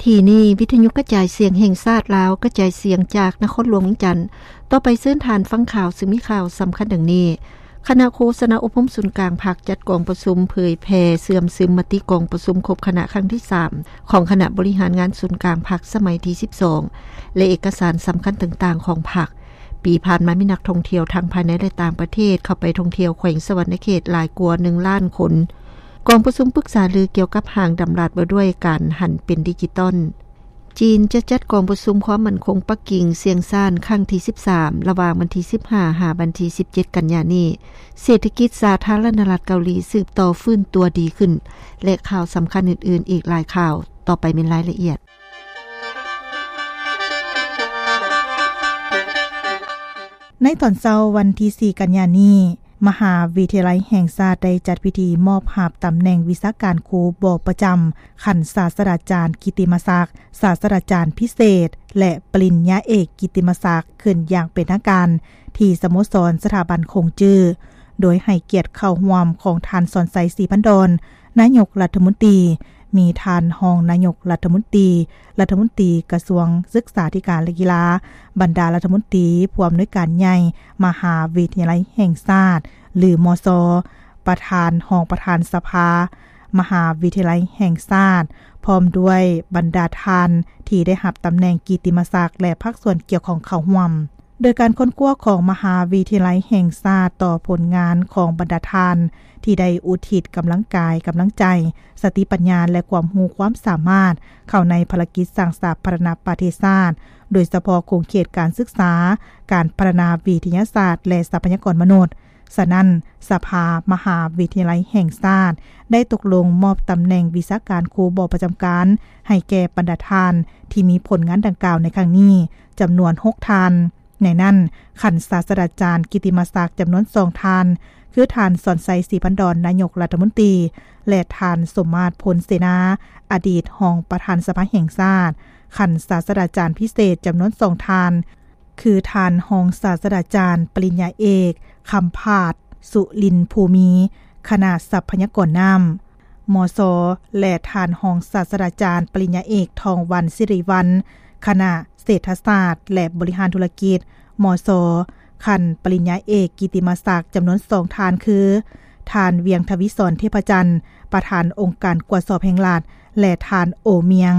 ທີ່ນີ້ ວິທະຍຸກະຈາຍສຽງແຫ່ງຊາດລາວ ກະຈາຍສຽງຈາກນະຄອນຫຼວງວຽງຈັນ. ຕໍ່ໄປເຊີນທ່ານຟັງຂ່າວ ຊຶ່ງມີຂ່າວສຳຄັນດັ່ງນີ້. ຄະນະໂຄສະນາອົບຮົມສູນກາງພັກ ຈັດກອງປະຊຸມເຜີຍແຜ່ເຊື່ອມຊຶມມະຕິກອງປະຊຸມຄົບຄະນະຄັ້ງທີສາມ ຂອງຄະນະບໍລິຫານງານສູນກາງພັກສະໄໝທີສິບສອງ ແລະ ເອກະສານສຳຄັນຕ່າງໆຂອງພັກ. ປີຜ່ານມາມີນັກທ່ອງທ່ຽວທັງພາຍໃນ ແລະ ຕ່າງປະເທດເຂົ້າໄປທ່ອງທ່ຽວແຂວງສະຫວັນນະເຂດຫຼາຍກວ່າໜຶ່ງລ້ານຄົນ. ກອງປະຊຸມປຶກສາລືກ່ຽວກັບຮ່າງດຳລັດວ່າດ້ວຍການຫັນເປັນດິຈິຕອນ. ຈີນຈະຈັດກອງປະຊຸມຄວາມໝັ້ນຄົງປັກກິ່ງຊຽງຊານຄັ້ງທີສິບສາມ ລະຫວ່າງວັນທີສິບຫ້າ ຫາວັນທີສິບເຈັດ ກັນຍານີ້. ເສດຖະກິດສາທາລະນະລັດເກົາຫຼີສືບຕໍ່ຟື້ນຕົວດີຂຶ້ນ ແລະ ຂ່າວສຳຄັນອື່ນໆອີກຫຼາຍຂ່າວ. ຕໍ່ໄປແມ່ນລາຍລະອຽດ. ໃນຕອນເຊົ້າວັນທີສີ່ ກັນຍານີ້, ມະຫາວິທະຍາໄລແຫ່ງຊາດໄດ້ຈັດພິທີມອບຮັບຕຳແໜ່ງວິຊາການຄູບໍ່ປະຈຳຂັ້ນສາດສະດາຈານກິດຕິມະສັກ, ສາດສະດາຈານພິເສດ ແລະ ປະລິນຍາເອກກິດຕິມະສັກຂຶ້ນຢ່າງເປັນທາງການ ທີ່ສະໂມສອນສະຖາບັນຂົງຈື້ ໂດຍໃຫ້ກຽດເຂົ້າຮ່ວມຂອງທ່ານ ສອນໄຊ ສີພັນດອນ, ນາຍົກລັດຖະມົນຕີ, ມີທ່ານຮອງນາຍົກລັດຖະມົນຕີ, ລັດຖະມົນຕີກະຊວງສຶກສາທິການ ແລະ ກິລາ, ບັນດາລັດຖະມົນຕີ, ຜູ້ອຳນວຍການໃຫຍ່ມະຫາວິທະຍາໄລແຫ່ງຊາດ ຫຼື ມຊ, ປະທານ, ຮອງປະທານສະພາມະຫາວິທະຍາໄລແຫ່ງຊາດ, ພ້ອມດ້ວຍບັນດາທ່ານທີ່ໄດ້ຮັບຕຳແໜ່ງກິດຕິມະສັກ ແລະ ພາກສ່ວນກ່ຽວຂ້ອງເຂົ້າຮ່ວມ. ໂດຍການຄົ້ນຄວ້າຂອງມະຫາວິທະຍາໄລແຫ່ງຊາດຕໍ່ຜົນງານຂອງບັນດາທ່ານ ທີ່ໄດ້ອຸທິດກຳລັງກາຍ, ກຳລັງໃຈ, ສະຕິປັນຍາ ແລະ ຄວາມຮູ້ຄວາມສາມາດເຂົ້າໃນພາລະກິດສ້າງສາທາລະນະປະເທດຊາດ, ໂດຍສະເພາະຂົງເຂດການສຶກສາ, ການພັດທະນາວິທະຍາສາດ ແລະ ຊັບພະຍາກອນມະນຸດ. ສະນັ້ນ, ສະພາມະຫາວິທະຍາໄລແຫ່ງຊາດໄດ້ຕົກລົງມອບຕຳແໜ່ງວິຊາການຄູບໍ່ປະຈຳການໃຫ້ແກ່ບັນດາທ່ານທີ່ມີຜົນງານດັ່ງກ່າວໃນຄັ້ງນີ້ ຈຳນວນຫົກທ່ານ. ໃນນັ້ນ, ຂັ້ນສາດສະດາຈານກິດຕິມະສັກຈຳນວນສອງທ່ານ ຄືທ່ານ ສອນໄຊ ສີພັນດອນ ນາຍົກລັດຖະມົນຕີ ແລະ ທ່ານ ສົມມາດ ພົນເສນາ ອະດີດຮອງປະທານສະພາແຫ່ງຊາດ, ຂັ້ນສາດສະດາຈານພິເສດຈຳນວນສອງທ່ານ ຄືທ່ານຮອງສາດສະດາຈານປະລິນຍາເອກ ຄຳພາດ ສຸລິນພູມີ ຄະນະຊັບພະຍາກອນນ້ຳ ມຊ ແລະ ທ່ານຮອງສາດສະດາຈານປະລິນຍາເອກ ທອງວັນ ສິລິວັນ ຄະນະເສດຖະສາດ ແລະ ບໍລິຫານທຸລະກິດ ມຊ. ຂັ້ນປະລິນຍາເອກກິດຕິມະສັກຈຳນວນສອງທ່ານ ຄື ທ່ານ ວຽງທະວີສອນ ເທບພະຈັນ ປະທານອົງການກວດສອບແຫ່ງລັດ ແລະ ທ່ານ ໂອ ມຽງ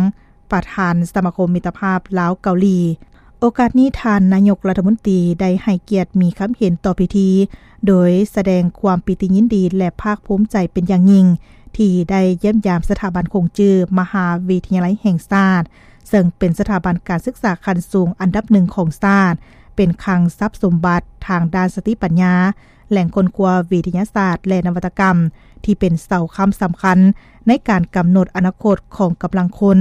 ປະທານສະມາຄົມມິດຕະພາບລາວເກົາຫຼີ. ໂອກາດນີ້, ທ່ານນາຍົກລັດຖະມົນຕີໄດ້ໃຫ້ກຽດມີຄຳເຫັນຕໍ່ພິທີ ໂດຍສະແດງຄວາມປີຕິຍິນດີ ແລະ ພາກພູມໃຈເປັນຢ່າງຍິ່ງ ທີ່ໄດ້ຢ້ຽມຢາມສະຖາບັນຂົງຈື້ມະຫາວິທະຍາໄລແຫ່ງຊາດ, ເຊິ່ງເປັນສະຖາບັນການສຶກສາຂັ້ນສູງອັນດັບໜຶ່ງຂອງຊາດ, ເປັນຄັງຊັບສົມບັດທາງດ້ານສະຕິປັນຍາ, ແຫຼ່ງຄົ້ນຄວ້າວິທະຍາສາດ ແລະ ນະວັດຕະກຳ ທີ່ເປັນເສົາຄ້ຳສຳຄັນໃນການກຳນົດອະນາຄົດຂອງກຳລັງຄົນ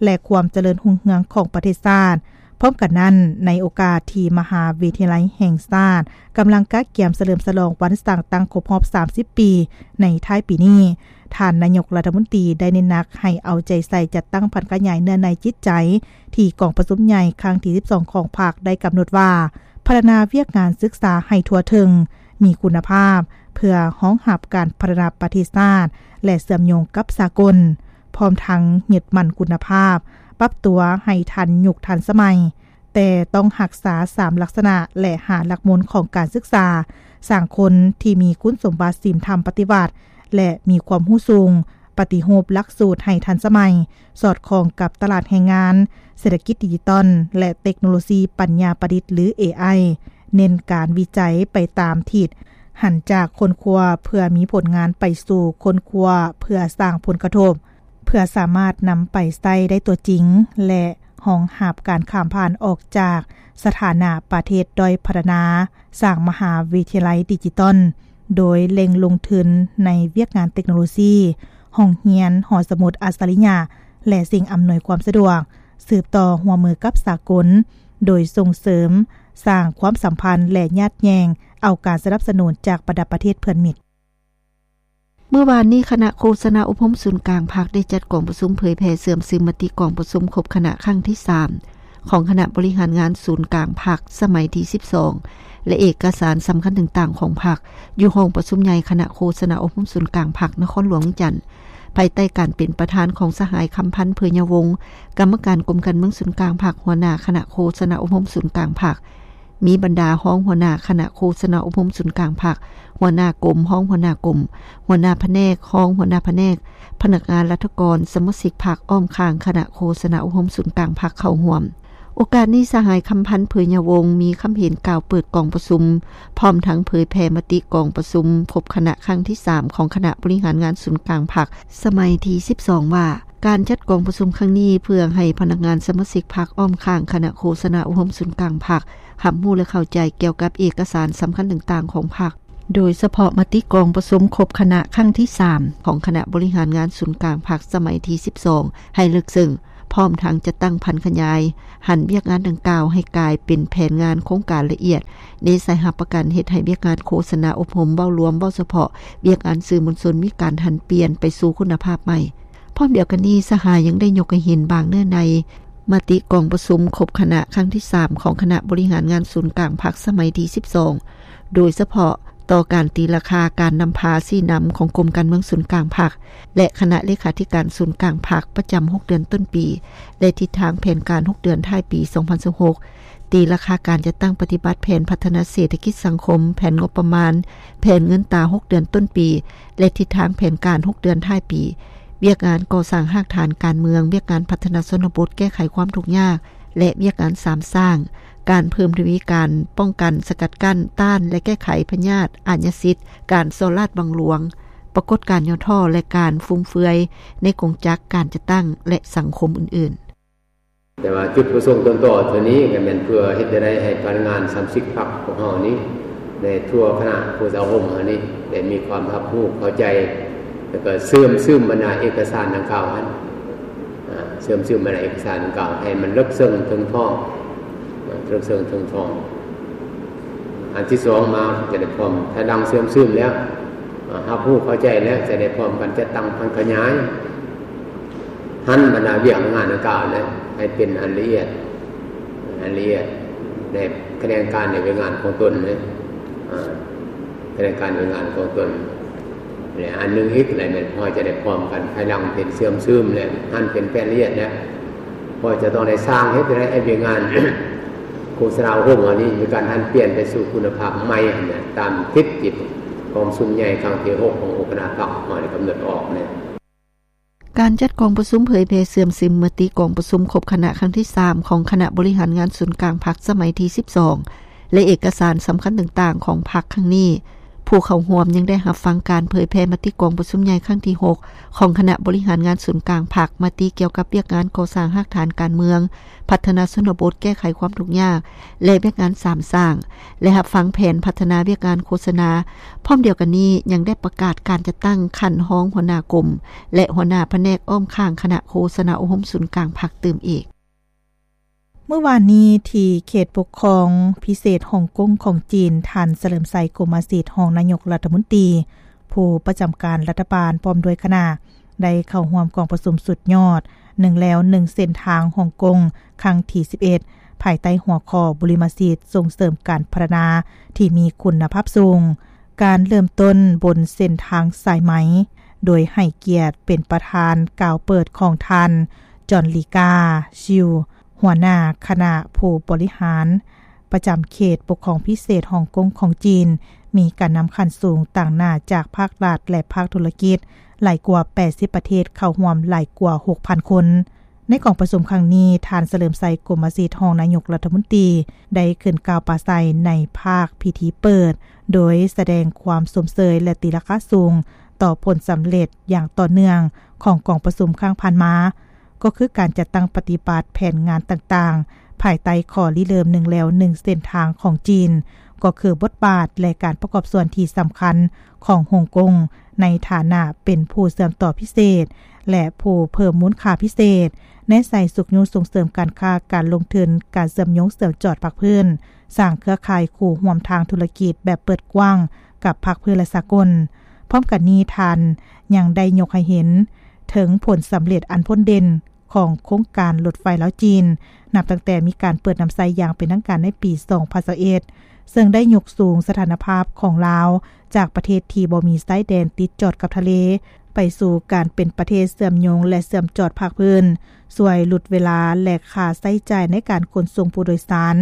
ແລະ ຄວາມຈະເລີນຮຸ່ງເຮືອງຂອງປະເທດຊາດ. ພ້ອມກັນນັ້ນ, ໃນໂອກາດທີ່ມະຫາວິທະຍາໄລແຫ່ງຊາດກຳລັງກະກຽມສະເຫຼີມສະຫຼອງວັນສ້າງຕັ້ງຄົບຮອບສາມສິບປີໃນທ້າຍປີນີ້, ທ່ານນາຍົກລັດຖະມົນຕີໄດ້ເນັ້ນໜັກໃຫ້ເອົາໃຈໃສ່ຈັດຕັ້ງຜັນຂະຫຍາຍເນື້ອໃນຈິດໃຈ ທີ່ກອງປະຊຸມໃຫຍ່ຄັ້ງທີສິບສອງຂອງພັກໄດ້ກຳນົດວ່າ ພັດທະນາວຽກງານສຶກສາໃຫ້ທົ່ວເຖິງ, ມີຄຸນນະພາບ ເພື່ອຮອງຮັບການພັດທະນາປະເທດຊາດ ແລະ ເຊື່ອມໂຍງກັບສາກົນ, ພ້ອມທັງຍຶດໝັ້ນຄຸນນະພາບ, ປັບຕົວໃຫ້ທັນຍຸກທັນສະໄໝ, ແຕ່ຕ້ອງຮັກສາສາມລັກສະນະ ແລະ ຫ້າຫຼັກມູນຂອງການສຶກສາ, ສ້າງຄົນທີ່ມີຄຸນສົມບັດສິນທຳປະຕິວັດ ແລະ ມີຄວາມຮູ້ສູງ, ປະຕິຮູບຫຼັກສູດໃຫ້ທັນສະໄໝ, ສອດຄ່ອງກັບຕະຫຼາດແຮງງານ, ເສດຖະກິດດິຈິຕອນ ແລະ ເຕັກໂນໂລຊີປັນຍາປະດິດ ຫຼື ເອໄອ, ເນັ້ນການວິໄຈໄປຕາມທິດຫັນຈາກຄົ້ນຄວ້າເພື່ອມີຜົນງານໄປສູ່ຄົ້ນຄວ້າເພື່ອສ້າງຜົນກະທົບ, ເພື່ອສາມາດນຳໄປໃຊ້ໄດ້ຕົວຈິງ ແລະ ຮອງຮັບການຂ້າມຜ່ານອອກຈາກສະຖານະປະເທດດ້ອຍພັດທະນາ, ສ້າງມະຫາວິທະຍາໄລດິຈິຕອນ, ໂດຍເລັ່ງລົງທຶນໃນວຽກງານເຕັກໂນໂລຊີ, ຫ້ອງຮຽນ, ຫໍສະໝຸດອັດສະລິຍະ ແລະ ສິ່ງອຳນວຍຄວາມສະດວກ, ສືບຕໍ່ຮ່ວມມືກັບສາກົນ, ໂດຍສົ່ງເສີມ, ສ້າງຄວາມສຳພັນ ແລະ ຍາດແຍ່ງເອົາການສະໜັບສະໜູນຈາກບັນດາປະເທດເພື່ອນມິດ. ເມື່ອວານນີ້, ຄະນະໂຄສະນາອົບຮົມສູນກາງພັກໄດ້ຈັດກອງປະຊຸມເຜີຍແຜ່ເຊື່ອມຊຶມມະຕິກອງປະຊຸມຄົບຄະນະຄັ້ງທີສາມ ຂອງຄະນະບໍລິຫານງານສູນກາງພັກສະໄໝທີສິບສອງ ແລະ ເອກະສານສຳຄັນຕ່າງໆຂອງພັກ ຢູ່ຫ້ອງປະຊຸມໃຫຍ່ຄະນະໂຄສະນາອົບຮົມສູນກາງພັກນະຄອນຫຼວງວຽງຈັນ. ພາຍໃຕ້ການເປັນປະທານຂອງສະຫາຍ ຄຳພັນ ເຜີຍຍາວົງ ກຳມະການກົມການເມືອງສູນກາງພັກ, ຫົວໜ້າຄະນະໂຄສະນາອົບຮົມສູນກາງພັກ, ມີບັນດາຮອງຫົວໜ້າຄະນະໂຄສະນາອົບຮົມສູນກາງພັກ, ຫົວໜ້າກົມ, ຮອງຫົວໜ້າກົມ, ຫົວໜ້າພະແນກ, ຮອງຫົວໜ້າພະແນກ, ພະນັກງານລັດຖະກອນ, ສະມາຊິກພັກອ້ອມຂ້າງຄະນະໂຄສະນາອົບຮົມສູນກາງພັກເຂົ້າຮ່ວມ. ໂອກາດນີ້ ສະຫາຍ ຄຳພັນ ເຜີຍຍາວົງ ມີຄຳເຫັນກ່າວເປີດກອງປະຊຸມ, ພ້ອມທັງເຜີຍແຜ່ມະຕິກອງປະຊຸມຄົບຄະນະຄັ້ງທີສາມ ຂອງຄະນະບໍລິຫານງານສູນກາງພັກ ສະໄໝທີສິບສອງ ວ່າ ການຈັດກອງປະຊຸມຄັ້ງນີ້ ເພື່ອໃຫ້ພະນັກງານສະມາຊິກພັກອ້ອມຂ້າງຄະນະໂຄສະນາອົບຮົມສູນກາງພັກ ຮັບຮູ້ ແລະ ເຂົ້າໃຈກ່ຽວກັບເອກະສານສຳຄັນຕ່າງໆຂອງພັກ, ໂດຍສະເພາະມະຕິກອງປະຊຸມຄົບຄະນະຄັ້ງທີສາມ ຂອງຄະນະບໍລິຫານງານສູນກາງພັກສະໄໝທີສິບສອງ ໃຫ້ເລິກເຊິ່ງ, ພ້ອມທັງຈັດຕັ້ງຜັນຂະຫຍາຍ, ຫັນວຽກງານດັ່ງກ່າວໃຫ້ກາຍເປັນແຜນງານໂຄງການລະອຽດ, ເນໃສ່ຮັບປະກັນເຮັດໃຫ້ວຽກງານໂຄສະນາອົບຮົມເວົ້າລວມ, ເວົ້າສະເພາະວຽກງານສື່ມວນຊົນມີການຫັນປ່ຽນໄປສູ່ຄຸນນະພາບໃໝ່. ພ້ອມດຽວກັນນີ້, ສະຫາຍຍັງໄດ້ຍົກໃຫ້ເຫັນບາງເນື້ອໃນມະຕິກອງປະຊຸມຄົບຄະນະຄັ້ງທີສາມ ຂອງຄະນະບໍລິຫານງານສູນກາງພັກສະໄໝທີສິບສອງ, ໂດຍສະເພາະຕໍ່ການຕີລາຄາການນຳພາຊີ້ນຳຂອງກົມການເມືອງສູນກາງພັກ ແລະ ຄະນະເລຂາທິການສູນກາງພັກປະຈຳຫົກເດືອນຕົ້ນປີ ແລະ ທິດທາງແຜນການຫົກເດືອນທ້າຍປີສອງພັນຊາວຫົກ, ຕີລາຄາການຈັດຕັ້ງປະຕິບັດແຜນພັດທະນາເສດຖະກິດສັງຄົມ, ແຜນງົບປະມານ, ແຜນເງິນຕາຫົກເດືອນຕົ້ນປີ ແລະ ທິດທາງແຜນການຫົກເດືອນທ້າຍປີ, ວຽກງານກໍ່ສ້າງຮາກຖານການເມືອງ, ວຽກງານພັດທະນາຊົນນະບົດ, ແກ້ໄຂຄວາມທຸກຍາກ ແລະ ວຽກງານສາມສ້າງ, ການເພີ່ມທະວີການປ້ອງກັນ, ສະກັດກັ້ນ, ຕ້ານ ແລະ ແກ້ໄຂພະຍາດອາຍາສິດ, ການສໍ້ລາດບັງຫຼວງ, ປາກົດການຫຍໍ້ທໍ້ ແລະ ການຟຸມເຟືອຍໃນກົງຈັກການຈັດຕັ້ງ ແລະ ສັງຄົມອື່ນໆ. ແຕ່ວ່າຈຸດປະສົງຕົ້ນຕໍໂຕນີ້ກໍແມ່ນເພື່ອເຮັດໃດໃຫ້ພະນັກງານສະມາຊິກພັກຂອງເຮົານີ້ ໃນທົ່ວຄະນະໂຄສະນາອົບຮົມເຮົານີ້ ໄດ້ມີຄວາມຮັບຮູ້ເຂົ້າໃຈ ແລ້ວກໍເຊື່ອມຊຶມບັນດາເອກະສານດັ່ງກ່າວຫັ້ນ ອາ ເຊື່ອມຊຶມບັນດາເອກະສານດັ່ງກ່າວໃຫ້ມັນເລິກເຊິ່ງເຖິງທ້ອງ ເລິກເຊິ່ງເຖິງທ້ອງ. ອັນທີສອງມາຈະໄດ້ພ້ອມ ພາຍຫຼັງເຊື່ອມຊຶມແລ້ວ ອາ ຮັບຮູ້ເຂົ້າໃຈແລ້ວ ຈະໄດ້ພ້ອມກັນຈັດຕັ້ງຜັນຂະຫຍາຍ ຫັນບັນດາວຽກງານດັ່ງກ່າວນັ້ນໃຫ້ເປັນອັນລະອຽດ ອັນລະອຽດ ໃນຂະແໜງການໃນວຽກງານຂອງຕົນເນາະ ອາ ຂະແໜງການວຽກງານຂອງຕົນ ແລະ ອັນໜຶ່ງອີກ ແລະ ແມ່ນເຮົາຈະໄດ້ພ້ອມກັນພາຍຫຼັງເປັນເຊື່ອມຊຶມ ແລະ ຫັນເປັນແຜນລະອຽດ ແລະ ເຮົາຈະຕ້ອງໄດ້ສ້າງເຮັດໃຫ້ວຽກງານໂຄສະນາອົບຮົມເຮົານີ້ມີການຫັນປ່ຽນໄປສູ່ຄຸນນະພາບໃໝ່ຫັ້ນນະ ຕາມທິດທີ່ກອງປະຊຸມໃຫຍ່ຄັ້ງທີຫົກຂອງອົງຄະນະພັກເຮົາໄດ້ກຳນົດອອກເນາະ. ການຈັດກອງປະຊຸມເຜີຍແຜ່ເຊື່ອມຊຶມມະຕິກອງປະຊຸມຄົບຄະນະຄັ້ງທີສາມ ຂອງຄະນະບໍລິຫານງານສູນກາງພັກສະໄໝທີສິບສອງ ແລະ ເອກະສານສຳຄັນຕ່າງໆຂອງພັກຄັ້ງນີ້, ຜູ້ເຂົ້າຮ່ວມຍັງໄດ້ຮັບຟັງການເຜີຍແຜ່ມະຕິກອງປະຊຸມໃຫຍ່ຄັ້ງທີຫົກ ຂອງຄະນະບໍລິຫານງານສູນກາງພັກ, ມະຕິກ່ຽວກັບວຽກງານກໍ່ສ້າງຮາກຖານການເມືອງ, ພັດທະນາຊົນນະບົດ, ແກ້ໄຂຄວາມທຸກຍາກ ແລະ ວຽກງານສາມສ້າງ ແລະ ຮັບຟັງແຜນພັດທະນາວຽກງານໂຄສະນາ. ພ້ອມດຽວກັນນີ້ ຍັງໄດ້ປະກາດການຈັດຕັ້ງຂັ້ນຮອງຫົວໜ້າກົມ ແລະ ຫົວໜ້າພະແນກອ້ອມຂ້າງຄະນະໂຄສະນາອົບຮົມສູນກາງພັກຕື່ມອີກ. ມື້ວານນີ້ ທີ່ເຂດປົກຄອງພິເສດຮົງກົງຂອງຈີນ, ທ່ານ ສະເຫຼີມໄຊ ກົມມະສິດ ຮອງນາຍົກລັດຖະມົນຕີ ຜູ້ປະຈຳການລັດຖະບານ ພ້ອມດ້ວຍຄະນະ ໄດ້ເຂົ້າຮ່ວມກອງປະຊຸມສຸດຍອດ ໜຶ່ງແລວໜຶ່ງເສັ້ນທາງຮົງກົງ ຄັ້ງທີສິບເອັດ ພາຍໃຕ້ຫົວຂໍ້ ບຸລິມະສິດສົ່ງເສີມການພັດທະນາທີ່ມີຄຸນນະພາບສູງ, ການເລີ່ມຕົ້ນບົນເສັ້ນທາງສາຍໄໝ, ໂດຍໃຫ້ກຽດເປັນປະທານກ່າວເປີດຂອງທ່ານ ຈອນລີກາ ຊິວ ຫົວໜ້າຄະນະຜູ້ບໍລິຫານປະຈຳເຂດປົກຄອງພິເສດຮົງກົງຂອງຈີນ, ມີການນຳຂັ້ນສູງຕາງໜ້າຈາກພາກລັດ ແລະ ພາກທຸລະກິດ ຫຼາຍກວ່າແປດສິບປະເທດເຂົ້າຮ່ວມຫຼາຍກວ່າຫົກພັນຄົນ. ໃນກອງປະຊຸມຄັ້ງນີ້, ທ່ານ ສະເຫຼີມໄຊ ກົມມະສິດ ຮອງນາຍົກລັດຖະມົນຕີ ໄດ້ຂຶ້ນກ່າວປາໄສໃນພາກພິທີເປີດ, ໂດຍສະແດງຄວາມຊົມເຊີຍ ແລະ ຕີລາຄາສູງຕໍ່ຜົນສຳເລັດຢ່າງຕໍ່ເນື່ອງຂອງກອງປະຊຸມຄັ້ງຜ່ານມາ, ກໍຄືການຈັດຕັ້ງປະຕິບັດແຜນງານຕ່າງໆ ພາຍໃຕ້ຂໍ້ລິເລີ່ມໜຶ່ງແລວໜຶ່ງເສັ້ນທາງຂອງຈີນ, ກໍຄືບົດບາດ ແລະ ການປະກອບສ່ວນທີ່ສຳຄັນຂອງຮົງກົງ ໃນຖານະເປັນຜູ້ເຊື່ອມຕໍ່ພິເສດ ແລະ ຜູ້ເພີ່ມມູນຄ່າພິເສດ, ແນໃສ່ຊຸກຍູ້ສົ່ງເສີມການຄ້າ, ການລົງທຶນ, ການເຊື່ອມໂຍງເຊື່ອມຈອດພາກພື້ນ, ສ້າງເຄືອຂ່າຍຄູ່ຮ່ວມທາງທຸລະກິດແບບເປີດກວ້າງກັບພາກພື້ນ ແລະ ສາກົນ. ພ້ອມກັນນີ້, ທ່ານຍັງໄດ້ຍົກໃຫ້ເຫັນເຖິງຜົນສຳເລັດອັນພົ້ນເດັ່ນ ຂອງໂຄງການລົດໄຟລາວ-ຈີນ, ນັບຕັ້ງແຕ່ມີການເປີດນຳໃຊ້ຢ່າງເປັນທາງການໃນປີສອງພັນຊາວເອັດ ເຊິ່ງໄດ້ຍົກສູງສະຖານະພາບຂອງລາວຈາກປະເທດທີ່ບໍ່ມີຊາຍແດນຕິດຈອດກັບທະເລ, ໄປສູ່ການເປັນປະເທດເຊື່ອມໂຍງ ແລະ ເຊື່ອມຈອດພາກພື້ນ, ຊ່ວຍຫຼຸດເວລາ ແລະ ຄ່າໃຊ້ຈ່າຍໃນການຂົນສົ່ງຜູ້ໂດຍສານ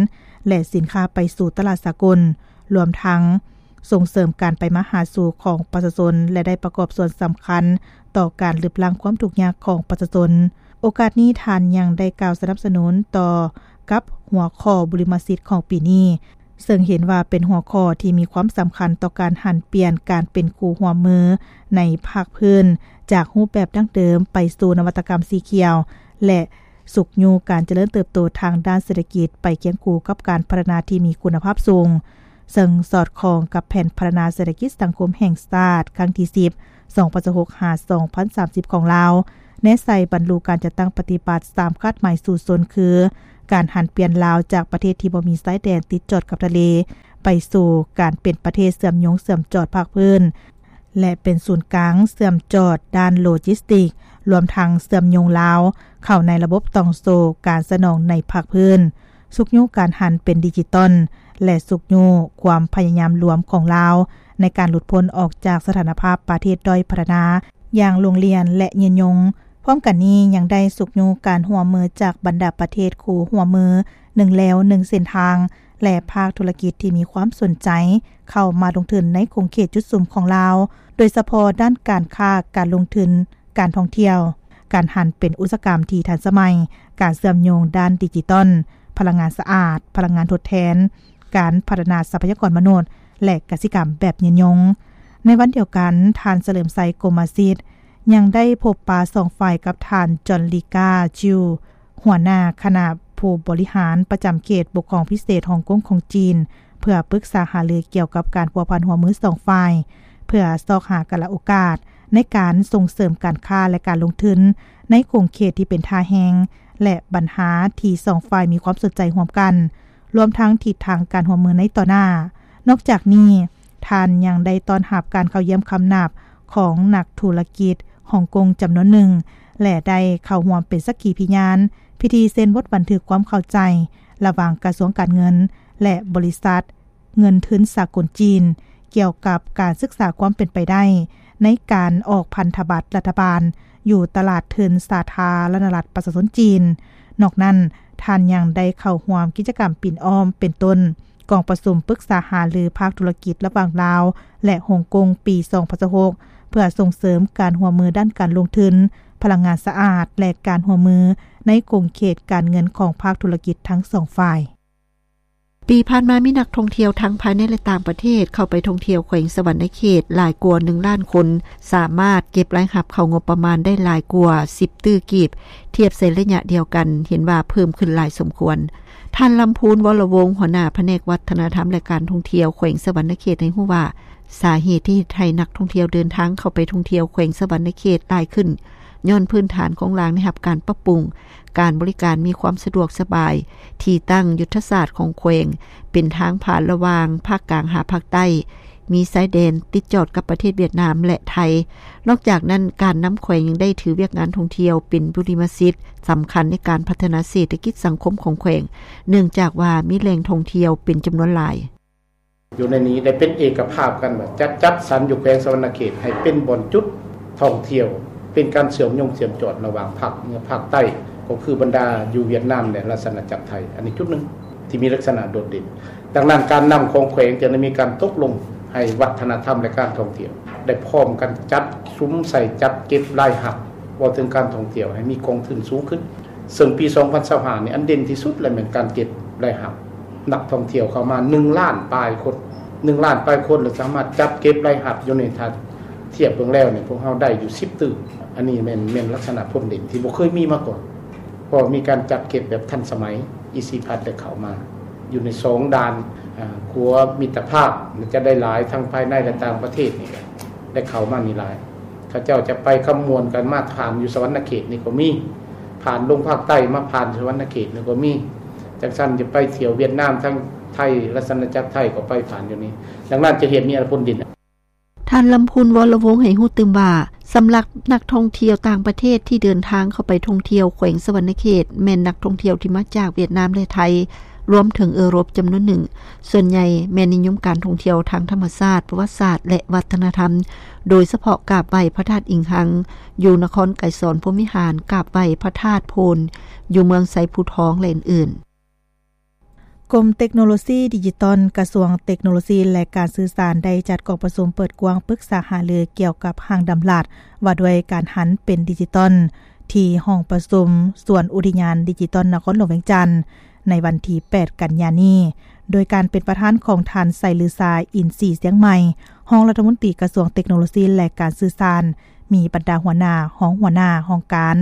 ແລະ ສິນຄ້າໄປສູ່ຕະຫຼາດສາກົນ, ລວມທັງສົ່ງເສີມການໄປມາຫາສູ່ຂອງປະຊາຊົນ ແລະ ໄດ້ປະກອບສ່ວນສຳຄັນຕໍ່ການລຶບລ້າງຄວາມທຸກຍາກຂອງປະຊາຊົນ. ໂອກາດນີ້ ທ່ານຍັງໄດ້ກ່າວສະໜັບສະໜູນຕໍ່ກັບຫົວຂໍ້ບຸລິມະສິດຂອງປີນີ້, ເຊິ່ງເຫັນວ່າເປັນຫົວຂໍ້ທີ່ມີຄວາມສຳຄັນຕໍ່ການຫັນປ່ຽນການເປັນຄູ່ຮ່ວມມືໃນພາກພື້ນ ຈາກຮູບແບບດັ້ງເດີມໄປສູ່ນະວັດຕະກຳສີຂຽວ ແລະ ຊຸກຍູ້ການຈະເລີນເຕີບໂຕທາງດ້ານເສດຖະກິດ ໄປຄຽງຄູ່ກັບການພັດທະນາທີ່ມີຄຸນນະພາບສູງ. ເຊິ່ງສອດຄ່ອງກັບແຜນພັດທະນາເສດຖະກິດສັງຄົມແຫ່ງຊາດຄັ້ງທີສິບ ສອງພັນຊາວຫົກ ຫາ ສອງພັນສາມສິບ ຂອງລາວ, ແນໃສ່ບັນລຸການຈັດຕັ້ງປະຕິບັດສາມຄາດໝາຍສູ້ຊົນ ຄື ການຫັນປ່ຽນລາວຈາກປະເທດທີ່ບໍ່ມີຊາຍແດນຕິດຈອດກັບທະເລ ໄປສູ່ການເປັນປະເທດເຊື່ອມໂຍງເຊື່ອມຈອດພາກພື້ນ ແລະ ເປັນສູນກາງເຊື່ອມຈອດດ້ານໂລຈິສຕິກ, ລວມທັງເຊື່ອມໂຍງລາວເຂົ້າໃນລະບົບຕ່ອງໂສ້ການສະໜອງໃນພາກພື້ນ, ຊຸກຍູ້ການຫັນເປັນດິຈິຕອນ ແລະ ຊຸກຍູ້ຄວາມພະຍາຍາມລວມຂອງລາວໃນການຫຼຸດພົ້ນອອກຈາກສະຖານະພາບປະເທດດ້ອຍພັດທະນາຢ່າງໂລງລຽນ ແລະ ຍືນຍົງ. ພ້ອມກັນນີ້ຍັງໄດ້ຊຸກຍູ້ການຮ່ວມມືຈາກບັນດາປະເທດຄູ່ຮ່ວມມືໜຶ່ງແລວໜຶ່ງເສັ້ນທາງ ແລະ ພາກທຸລະກິດທີ່ມີຄວາມສົນໃຈເຂົ້າມາລົງທຶນໃນຂົງເຂດຈຸດສຸມຂອງລາວ, ໂດຍສະເພາະດ້ານການຄ້າ, ການລົງທຶນ, ການທ່ອງທ່ຽວ, ການຫັນເປັນອຸດສາຫະກຳທີ່ທັນສະໄໝ, ການເຊື່ອມໂຍງດ້ານດິຈິຕອນ, ພະລັງງານສະອາດ, ພະລັງງານທົດແທນ, ການພັດທະນາຊັບພະຍາກອນມະນຸດ ແລະ ກະສິກຳແບບຍືນຍົງ. ໃນວັນດຽວກັນ, ທ່ານ ສະເຫຼີມໄຊ ກົມມະສິດ ຍັງໄດ້ພົບປະສອງຝ່າຍກັບທ່ານ ຈອນລີກາ ຈິວ ຫົວໜ້າຄະນະຜູ້ບໍລິຫານປະຈຳເຂດປົກຄອງພິເສດຮົງກົງຂອງຈີນ ເພື່ອປຶກສາຫາລືກ່ຽວກັບການພົວພັນຮ່ວມມືສອງຝ່າຍ ເພື່ອຊອກຫາກາລະໂອກາດໃນການສົ່ງເສີມການຄ້າ ແລະ ການລົງທຶນໃນຂົງເຂດທີ່ເປັນທ່າແຮງ ແລະ ບັນຫາທີ່ສອງຝ່າຍມີຄວາມສົນໃຈຮ່ວມກັນ, ລວມທັງທິດທາງການຮ່ວມມືໃນຕໍ່ໜ້າ. ນອກຈາກນີ້, ທ່ານຍັງໄດ້ຕ້ອນຮັບການເຂົ້າຢ້ຽມຄຳນັບຂອງນັກທຸລະກິດຮົງກົງຈຳນວນໜຶ່ງ ແລະ ໄດ້ເຂົ້າຮ່ວມເປັນສັກຂີພິຍານພິທີເຊັນບົດບັນທຶກຄວາມເຂົ້າໃຈລະຫວ່າງກະຊວງການເງິນ ແລະ ບໍລິສັດເງິນທຶນສາກົນຈີນ ກ່ຽວກັບການສຶກສາຄວາມເປັນໄປໄດ້ໃນການອອກພັນທະບັດລັດຖະບານຢູ່ຕະຫຼາດທຶນສາທາລະນະລັດປະຊາຊົນຈີນ. ນອກນັ້ນ, ທ່ານຍັງໄດ້ເຂົ້າຮ່ວມກິດຈະກຳປິ່ນອ້ອມ ເປັນຕົ້ນ ກອງປະຊຸມປຶກສາຫາລືພາກທຸລະກິດລະຫວ່າງລາວ ແລະ ຮົງກົງປີສອງພັນຊາວຫົກ ເພື່ອສົ່ງເສີມການຮ່ວມມືດ້ານການລົງທຶນ, ພະລັງງານສະອາດ ແລະ ການຮ່ວມມືໃນຂົງເຂດການເງິນຂອງພາກທຸລະກິດທັງສອງຝ່າຍ. ປີຜ່ານມາມີນັກທ່ອງທ່ຽວທັງພາຍໃນ ແລະ ຕ່າງປະເທດເຂົ້າໄປທ່ອງທ່ຽວແຂວງສະຫວັນນະເຂດຫຼາຍກວ່າໜຶ່ງລ້ານຄົນ, ສາມາດເກັບລາຍຮັບເຂົ້າງົບປະມານໄດ້ຫຼາຍກວ່າສິບຕື້ກີບ, ທຽບໃສ່ໄລຍະດຽວກັນເຫັນວ່າເພີ່ມຂຶ້ນຫຼາຍສົມຄວນ. ທ່ານ ລຳພູນ ວໍລະວົງ ຫົວໜ້າພະແນກວັດທະນະທຳ ແລະ ການທ່ອງທ່ຽວແຂວງສະຫວັນນະເຂດໃຫ້ຮູ້ວ່າ ສາເຫດທີ່ເຮັດໃຫ້ນັກທ່ອງທ່ຽວເດີນທາງເຂົ້າໄປທ່ອງທ່ຽວແຂວງສະຫວັນນະເຂດຫຼາຍຂຶ້ນ ຍ້ອນພື້ນຖານໂຄງລ່າງໄດ້ຮັບການປັບປຸງ, ການບໍລິການມີຄວາມສະດວກສະບາຍ, ທີ່ຕັ້ງຍຸດທະສາດຂອງແຂວງເປັນທາງຜ່ານລະຫວ່າງພາກກາງຫາພາກໃຕ້, ມີຊາຍແດນຕິດຈອດກັບປະເທດຫວຽດນາມ ແລະ ໄທ. ນອກຈາກນັ້ນ, ການນຳແຂວງຍັງໄດ້ຖືວຽກງານທ່ອງທ່ຽວເປັນບຸລິມະສິດສຳຄັນໃນການພັດທະນາເສດຖະກິດສັງຄົມຂອງແຂວງ, ເນື່ອງຈາກວ່າມີແຫຼ່ງທ່ອງທ່ຽວເປັນຈຳນວນຫຼາຍ. ຢູ່ໃນນີ້ໄດ້ເປັນເອກະພາບກັນວ່າຈະຈັດສັນຢູ່ແຂວງສະຫວັນນະເຂດໃຫ້ເປັນບ່ອນຈຸດທ່ອງທ່ຽວ, ເປັນການເຊື່ອມໂຍງເຊື່ອມຈອດລະຫວ່າງພາກເໜືອພາກໃຕ້, ກໍຄືບັນດາຢູ່ຫວຽດນາມ ແລະ ລາຊະອານາຈັກໄທ. ອັນນີ້ຈຸດໜຶ່ງທີ່ມີລັກສະນະໂດດເດັ່ນ. ດັ່ງນັ້ນ, ການນຳຂອງແຂວງຈະໄດ້ມີການຕົກລົງໃຫ້ວັດທະນະທຳ ແລະ ການທ່ອງທ່ຽວ ໄດ້ພ້ອມກັນຈັດສຸມໃສ່ຈັດເກັບລາຍຮັບ ເວົ້າເຖິງການທ່ອງທ່ຽວໃຫ້ມີກອງທຶນສູງຂຶ້ນ. ເຊິ່ງປີສອງພັນຊາວຫ້ານີ້ ອັນເດັ່ນທີ່ສຸດແລະແມ່ນການເກັບລາຍຮັບນັກທ່ອງທ່ຽວເຂົ້າມາໜຶ່ງລ້ານປາຍຄົນ, ໜຶ່ງລ້ານປາຍຄົນ ແລະ ສາມາດຈັດເກັບລາຍຮັບຢູ່ໃນ ຖ້າທຽບເບິ່ງແລ້ວນີ້ ພວກເຮົາໄດ້ຢູ່ສິບຕື້. ອັນນີ້ແມ່ນ ແມ່ນລັກສະນະພົ້ນເດັ່ນທີ່ບໍ່ເຄີຍມີມາກ່ອນ, ເພາະມີການຈັດເກັບແບບທັນສະໄໝ. ອີຊີພັດໄດ້ເຂົ້າມາຢູ່ໃນສອງດ່ານ, ອາ, ຂົວມິດຕະພາບ ຈະໄດ້ຫຼາຍ ທັງພາຍໃນ ແລະ ຕ່າງປະເທດນີ້ ໄດ້ເຂົ້າມານີ້ຫຼາຍ. ເຂົາເຈົ້າຈະໄປຄຳມ່ວນກັນ ມາຜ່ານຢູ່ສະຫວັນນະເຂດນີ້ກໍມີ, ຜ່ານລົງພາກໃຕ້ມາຜ່ານສະຫວັນນະເຂດນີ້ກໍມີ. ຈັ່ງຊັ້ນຈະໄປທ່ຽວຫວຽດນາມ ທາງໄທ, ລາຊະອານາຈັກໄທ ກໍໄປຜ່ານຢູ່ນີ້. ດັ່ງນັ້ນຈະເຮັດມີອັນຜົນດີ. ທ່ານ ລຳພູນ ວໍລະວົງ ໃຫ້ຮູ້ຕື່ມວ່າ ສຳລັບນັກທ່ອງທ່ຽວຕ່າງປະເທດທີ່ເດີນທາງເຂົ້າໄປທ່ອງທ່ຽວແຂວງສະຫວັນນະເຂດ ແມ່ນນັກທ່ອງທ່ຽວທີ່ມາຈາກຫວຽດນາມ ແລະ ໄທ. ລວມເຖິງເອີຣົບຈຳນວນໜຶ່ງ, ສ່ວນໃຫຍ່ແມ່ນນິຍົມການທ່ອງທ່ຽວທາງທຳມະຊາດ, ປະຫວັດສາດ ແລະ ວັດທະນະທຳ, ໂດຍສະເພາະກາບໄຫວ້ພະທາດອິງຮັງ ຢູ່ນະຄອນໄກສອນ ພົມວິຫານ, ກາບໄຫວ້ພະທາດໂພນ ຢູ່ເມືອງໄຊພູທອງ ແລະ ອື່ນໆ. ກົມເຕັກໂນໂລຊີດິຈິຕອນ ກະຊວງເຕັກໂນໂລຊີ ແລະ ການສື່ສານ ໄດ້ຈັດກອງປະຊຸມເປີດກວ້າງປຶກສາຫາລືກ່ຽວກັບຮ່າງດຳລັດວ່າດ້ວຍການຫັນເປັນດິຈິຕອນ ທີ່ຫ້ອງປະຊຸມສວນອຸທິຍານດິຈິຕອນນະຄອນຫຼວງວຽງຈັນ ໃນວັນທີແປດ ກັນຍານີ້ ໂດຍການເປັນປະທານຂອງທ່ານ ໄຊລືຊາ ອິນສີຊຽງໃໝ່ ຮອງລັດຖະມົນຕີກະຊວງເຕັກໂນໂລຊີ ແລະ ການສື່ສານ, ມີບັນດາຫົວໜ້າ, ຮອງຫົວໜ້າຫ້ອງການ,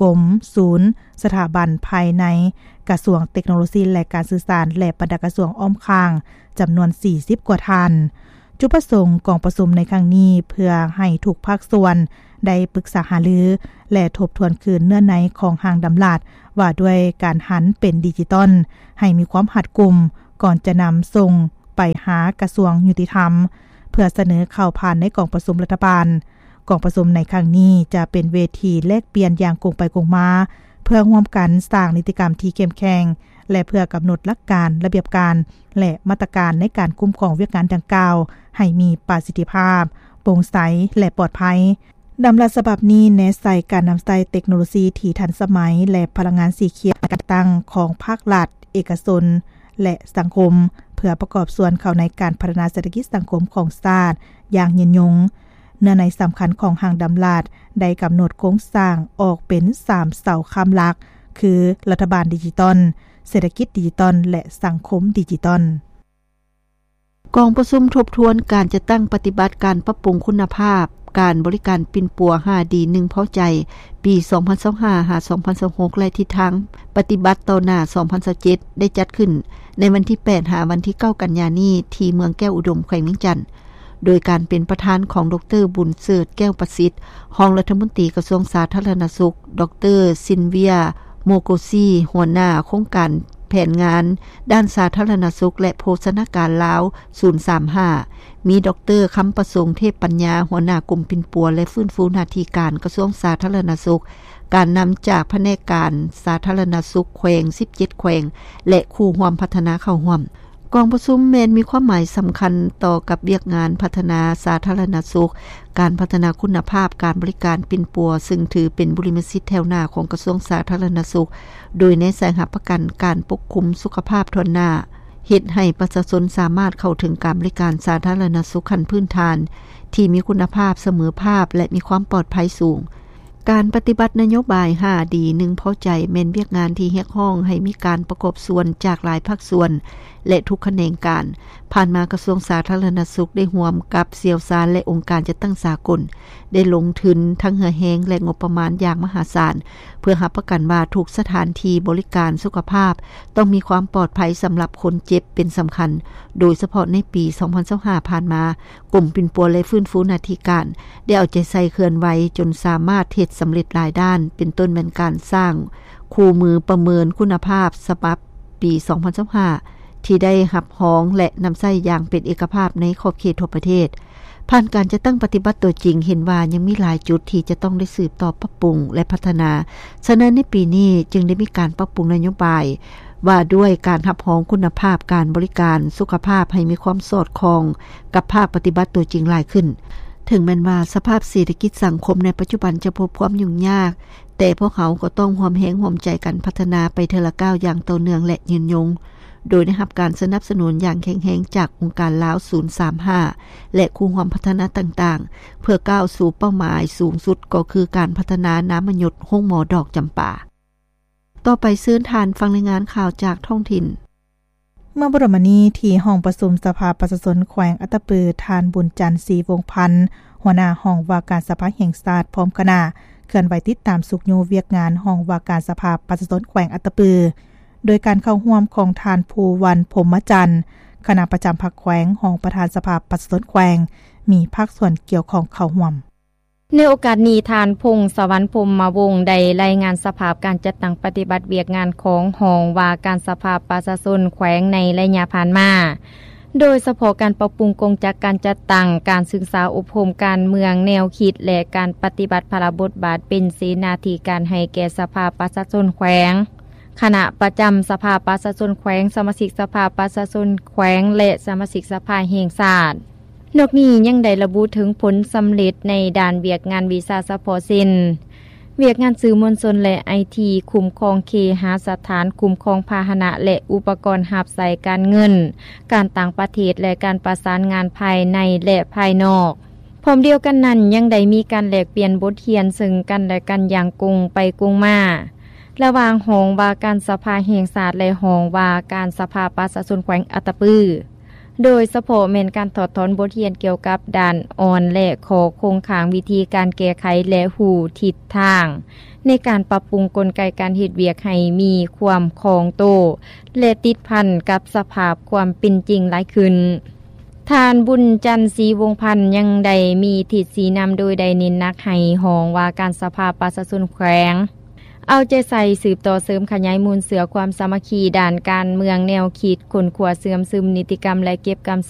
ກົມ, ສູນ, ສະຖາບັນພາຍໃນກະຊວງເຕັກໂນໂລຊີ ແລະ ການສື່ສານ ແລະ ບັນດາກະຊວງອ້ອມຂ້າງ ຈຳນວນສີ່ສິບກວ່າທ່ານ. ຈຸດປະສົງກອງປະຊຸມໃນຄັ້ງນີ້ ເພື່ອໃຫ້ທຸກພາກສ່ວນໄດ້ປຶກສາຫາລື ແລະ ທົບທວນຄືນເນື້ອໃນຂອງຮ່າງດຳລັດວ່າດ້ວຍການຫັນເປັນດິຈິຕອນ ໃຫ້ມີຄວາມຮັດກຸມ ກ່ອນຈະນຳສົ່ງໄປຫາກະຊວງຍຸຕິທຳ ເພື່ອສະເໜີເຂົ້າຜ່ານໃນກອງປະຊຸມລັດຖະບານ. ກອງປະຊຸມໃນຄັ້ງນີ້ຈະເປັນເວທີແລກປ່ຽນຢ່າງກົງໄປກົງມາ ເພື່ອຮ່ວມກັນສ້າງນິຕິກຳທີ່ເຂັ້ມແຂງ ແລະ ເພື່ອກຳນົດຫຼັກການ, ລະບຽບການ ແລະ ມາດຕະການໃນການຄຸ້ມຄອງວຽກງານດັ່ງກ່າວໃຫ້ມີປະສິດທິພາບ, ໂປ່ງໃສ ແລະ ປອດໄພ. ດຳລັດສະບັບນີ້ແນໃສ່ການນຳໃຊ້ເຕັກໂນໂລຊີທີ່ທັນສະໄໝ ແລະ ພະລັງງານສີຂຽວໃນການຈັດຕັ້ງຂອງພາກລັດ, ເອກະຊົນ ແລະ ສັງຄົມ ເພື່ອປະກອບສ່ວນເຂົ້າໃນການພັດທະນາເສດຖະກິດສັງຄົມຂອງຊາດຢ່າງຍືນຍົງ. ເນື້ອໃນສຳຄັນຂອງຮ່າງດຳລັດໄດ້ກຳນົດໂຄງສ້າງອອກເປັນສາມເສົາຄ້ຳຫຼັກ ຄື ລັດຖະບານດິຈິຕອນ, ເສດຖະກິດດິຈິຕອນ ແລະ ສັງຄົມດິຈິຕອນ. ກອງປະຊຸມທົບທວນການຈັດຕັ້ງປະຕິບັດການປັບປຸງຄຸນນະພາບການບໍລິການປິ່ນປົວຫ້າດີ ໜຶ່ງພໍໃຈ ປີສອງພັນຊາວຫ້າ ຫາ ສອງພັນຊາວຫົກ ແລະ ທິດທາງປະຕິບັດຕໍ່ໜ້າ ສອງພັນຊາວເຈັດ ໄດ້ຈັດຂຶ້ນໃນວັນທີແປດ ຫາ ວັນທີເກົ້າ ກັນຍານີ້ ທີ່ເມືອງແກ້ວອຸດົມ ແຂວງວຽງຈັນ. ໂດຍການເປັນປະທານຂອງ ດຣ. ບຸນເສີດ ແກ້ວປະສິດ ຮອງລັດຖະມົນຕີກະຊວງສາທາລະນະສຸກ, ດຣ. ຊິນເວຍ ໂມໂກຊີ ຫົວໜ້າໂຄງການແຜນງານດ້ານສາທາລະນະສຸກ ແລະ ໂພຊະນາການລາວ ສູນສາມຫ້າ, ມີ ດຣ. ຄຳປະສົງ ເທບປັນຍາ ຫົວໜ້າກົມປິ່ນປົວ ແລະ ຟື້ນຟູໜ້າທີ່ການ ກະຊວງສາທາລະນະສຸກ, ການນຳຈາກພະແນກການສາທາລະນະສຸກແຂວງ ສິບເຈັດແຂວງ ແລະ ຄູ່ຮ່ວມພັດທະນາເຂົ້າຮ່ວມ. ກອງປະຊຸມແມ່ນມີຄວາມໝາຍສຳຄັນຕໍ່ກັບວຽກງານພັດທະນາສາທາລະນະສຸກ, ການພັດທະນາຄຸນນະພາບການບໍລິການປິ່ນປົວ, ຊຶ່ງຖືເປັນບຸລິມະສິດແຖວໜ້າຂອງກະຊວງສາທາລະນະສຸກ, ໂດຍແນໃສ່ຮັບປະກັນການປົກຄຸມສຸຂະພາບຖ້ວນໜ້າ, ເຮັດໃຫ້ປະຊາຊົນສາມາດເຂົ້າເຖິງການບໍລິການສາທາລະນະສຸກຂັ້ນພື້ນຖານທີ່ມີຄຸນນະພາບ, ສະເໝີພາບ ແລະ ມີຄວາມປອດໄພສູງ. ການປະຕິບັດນະໂຍບາຍຫ້າດີ ໜຶ່ງພໍໃຈ ແມ່ນວຽກງານທີ່ຮຽກຮ້ອງໃຫ້ມີການປະກອບສ່ວນຈາກຫຼາຍພາກສ່ວນ ແລະ ທຸກຂະແໜງການ. ຜ່ານມາກະຊວງສາທາລະນະສຸກໄດ້ຮ່ວມກັບຊ່ຽວຊານ ແລະ ອົງການຈັດຕັ້ງສາກົນ ໄດ້ລົງທຶນທັງເຫື່ອແຮງ ແລະ ງົບປະມານຢ່າງມະຫາສານ ເພື່ອຮັບປະກັນວ່າທຸກສະຖານທີ່ບໍລິການສຸຂະພາບຕ້ອງມີຄວາມປອດໄພສຳລັບຄົນເຈັບເປັນສຳຄັນ. ໂດຍສະເພາະໃນປີສອງພັນຊາວຫ້າຜ່ານມາ, ກົມປິ່ນປົວ ແລະ ຟື້ນຟູໜ້າທີ່ການ ໄດ້ເອົາໃຈໃສ່ເຄື່ອນໄຫວຈົນສາມາດເຮັດສຳເລັດຫຼາຍດ້ານ, ເປັນຕົ້ນແມ່ນການສ້າງຄູ່ມືປະເມີນຄຸນນະພາບສະບັບປີສອງພັນຊາວຫ້າ ທີ່ໄດ້ຮັບຮອງ ແລະ ນຳໃຊ້ຢ່າງເປັນເອກະພາບໃນຂອບເຂດທົ່ວປະເທດ. ຜ່ານການຈັດຕັ້ງປະຕິບັດຕົວຈິງ ເຫັນວ່າຍັງມີຫຼາຍຈຸດທີ່ຈະຕ້ອງໄດ້ສືບຕໍ່ປັບປຸງ ແລະ ພັດທະນາ. ສະນັ້ນ ໃນປີນີ້ຈຶ່ງໄດ້ມີການປັບປຸງນະໂຍບາຍ ວ່າດ້ວຍການຮັບຮອງຄຸນນະພາບການບໍລິການສຸຂະພາບໃຫ້ມີຄວາມສອດຄ່ອງກັບພາກປະຕິບັດຕົວຈິງຫຼາຍຂຶ້ນ. ເຖິງແມ່ນວ່າສະພາບເສດຖະກິດສັງຄົມໃນປັດຈຸບັນຈະພົບຄວາມຫຍຸ້ງຍາກ, ແຕ່ພວກເຮົາກໍຕ້ອງຮ່ວມແຮງຮ່ວມໃຈກັນພັດທະນາໄປເທື່ອລະກ້າວຢ່າງຕໍ່ເນື່ອງ ແລະ ຍືນຍົງ, ໂດຍໄດ້ຮັບການສະໜັບສະໜູນຢ່າງແຂງແຮງຈາກອົງການລາວສູນສາມຫ້າ ແລະ ຄູ່ຮ່ວມພັດທະນາຕ່າງໆ ເພື່ອກ້າວສູ່ເປົ້າໝາຍສູງສຸດ ກໍຄືການພັດທະນານາມະຍົດໂຮງໝໍດອກຈຳປາ. ຕໍ່ໄປເຊີນທ່ານຟັງລາຍງານຂ່າວຈາກທ້ອງຖິ່ນ. ເມື່ອບໍ່ດົນມານີ້ ທີ່ຫ້ອງປະຊຸມສະພາປະຊາຊົນແຂວງອັດຕະປື, ທ່ານ ບຸນຈັນ ສີວົງພັນ ຫົວໜ້າຫ້ອງວ່າການສະພາແຫ່ງຊາດ ພ້ອມຄະນະ ເຄື່ອນໄຫວຕິດຕາມຊຸກຍູ້ວຽກງານຫ້ອງວ່າການສະພາປະຊາຊົນແຂວງອັດຕະປື, ໂດຍການເຂົ້າຮ່ວມຂອງທ່ານ ພູວັນ ພົມມະຈັນ ຄະນະປະຈຳພັກແຂວງ, ຮອງປະທານສະພາປະຊາຊົນແຂວງ, ມີພາກສ່ວນກ່ຽວຂ້ອງເຂົ້າຮ່ວມ. ໃນໂອກາດນີ້, ທ່ານ ພົງສະຫວັນ ພົມມະວົງ ໄດ້ລາຍງານສະພາບການຈັດຕັ້ງປະຕິບັດວຽກງານຂອງຫ້ອງວ່າການສະພາປະຊາຊົນແຂວງໃນໄລຍະຜ່ານມາ, ໂດຍສະເພາະການປັບປຸງກົງຈັກການຈັດຕັ້ງ, ການສຶກສາອົບຮົມການເມືອງແນວຄິດ ແລະ ການປະຕິບັດພາລະບົດບາດເປັນເສນາທິການໃຫ້ແກ່ສະພາປະຊາຊົນແຂວງ. ຄະນະປະຈຳສະພາປະຊາຊົນແຂວງ, ສະມາຊິກສະພາປະຊາຊົນແຂວງ ແລະ ສະມາຊິກສະພາແຫ່ງຊາດ. ນອກນີ້ຍັງໄດ້ລະບຸເຖິງຜົນສຳເລັດໃນດ້ານວຽກງານວິຊາສະເພາະ ເຊັ່ນ ວຽກງານສື່ມວນຊົນ ແລະ ໄອທີ, ຄຸ້ມຄອງເຄຫະສະຖານ, ຄຸ້ມຄອງພາຫະນະ ແລະ ອຸປະກອນຮັບໃຊ້ການເງິນ, ການຕ່າງປະເທດ ແລະ ການປະສານງານພາຍໃນ ແລະ ພາຍນອກ. ພ້ອມດຽວກັນນັ້ນ ຍັງໄດ້ມີການແລກປ່ຽນບົດຮຽນເຊິ່ງກັນ ແລະ ກັນຢ່າງກົງໄປກົງມາ ລະຫວ່າງຫ້ອງວ່າການສະພາແຫ່ງຊາດ ແລະ ຫ້ອງວ່າການສະພາປະຊາຊົນແຂວງອັດຕະປື, ໂດຍສະເພາະແມ່ນການຖອດຖອນບົດຮຽນກ່ຽວກັບດ້ານອ່ອນ ແລະ ຂໍ້ຄົງຄ້າງ, ວິທີການແກ້ໄຂ ແລະ ຮູ້ທິດທາງໃນການປັບປຸງກົນໄກການເຮັດວຽກໃຫ້ມີຄວາມຄ່ອງໂຕ ແລະ ຕິດພັນກັບສະພາບຄວາມເປັນຈິງຫຼາຍຂຶ້ນ. ທ່ານ ບຸນຈັນ ສີວົງພັນ ຍັງໄດ້ມີທິດຊີ້ນຳໂດຍໄດ້ເນັ້ນໜັກໃຫ້ຫ້ອງວ່າການສະພາປະຊາຊົນແຂວງ ເອົາໃຈໃສ່ສືບຕໍ່ເສີມຂະຫຍາຍມູນເຊື້ອຄວາມສາມັກຄີດ້ານການເມືອງແນວຄິດ, ຄົ້ນຄວ້າເຊື່ອມຊຶມນິຕິກຳ ແລະ ເກັບກຳ